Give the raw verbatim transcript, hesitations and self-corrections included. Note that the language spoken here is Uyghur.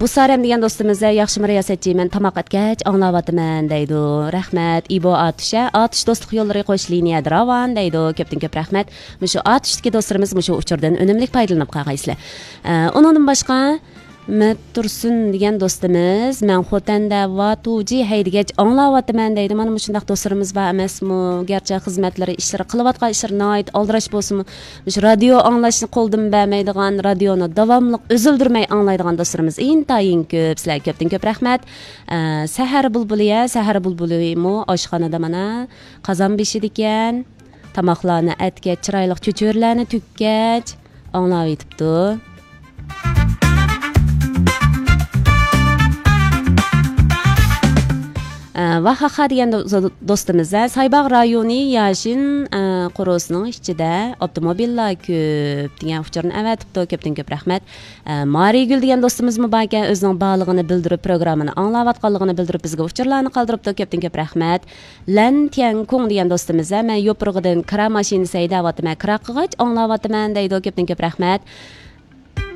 بۇسارەم دېگەن دوستىمىز، ياخشىمۇ رىياسەتچى، مەن تاماق ئەتكەچ ئاڭلاۋاتىمەن دەيدۇ. رەھمەت. ئىبو ئاتۇش، ئاتۇش دوستلۇق يوللىرى قوش لىنىيەدە راۋان دەيدۇ. كۆپتىن كۆپ رەھمەت. مۇشۇ ئاتۇشتىكى دوستلىرىمىز مۇشۇ ئۇچۇردىن ئۈنۈملۈك پايدىلىنىپ قالغايسىلەر. ئە، ئۇنىڭدىن باشقا مەت تۇرسۇن دېگەن دوستىمىز، مەن خوتەندە ۋاتۇجى ھەيدىگەچ ئاڭلاۋاتىمەن دەيدۇ. مانا مۇشۇنداق دوستلىرىمىز بار ئەمەسمۇ؟ گەرچە خىزمەتلىرى، ئىشلىرى، قىلىۋاتقان ئىشلىرى ناھايىتى ئالدىراش بولسىمۇ، مۇشۇ رادىيو ئاڭلاشنى قولدىن بەرمەيدىغان، رادىيونى داۋاملىق ئۈزۈلدۈرمەي ئاڭلايدىغان دوستلىرىمىز ئىنتايىن كۆپ. سىلەرگە كۆپتىن كۆپ رەھمەت. ئە، سەھەر بۇلبۇلى، يا، سەھەر بۇلبۇلىمۇ ئاشخانىدا مانا قازان بېشىدىكەن. تاماقلارنى ئەتكەچ، چىرايلىق چۆچۈرىلەرنى تۈگكەچ ئاڭلاۋېتىپتۇ. ئە، ۋاھاخا دېگەن دو-، دوستىمىز، ئە، سايباغ رايونى ياشىن، ئە، قورۇسىنىڭ ئىچىدە ئاپتوموبىللار كۆپ دېگەن ئۇچۇرنى ئەۋەتىپتۇ. كۆپتىن كۆپ رەھمەت. ئە، مارىگۈل دېگەن دوستىمىزمۇ باركەن، ئۆزىنىڭ بارلىقىنى بىلدۈرۈپ، پروگراممىنى ئاڭلاۋاتقانلىقىنى بىلدۈرۈپ، بىزگە ئۇچۇرلارنى قالدۇرۇپتۇ. كۆپتىن كۆپ رەھمەت. لەن تيەنكۇڭ دېگەن دوستىمىز، ھە، مەن يوپۇرغىدىن كىرا ماشىنىسى ھەيدەۋاتىمەن، كىرا قىلغاچ ئاڭلاۋاتىمەن دەيدۇ. كۆپتىن كۆپ رەھمەت.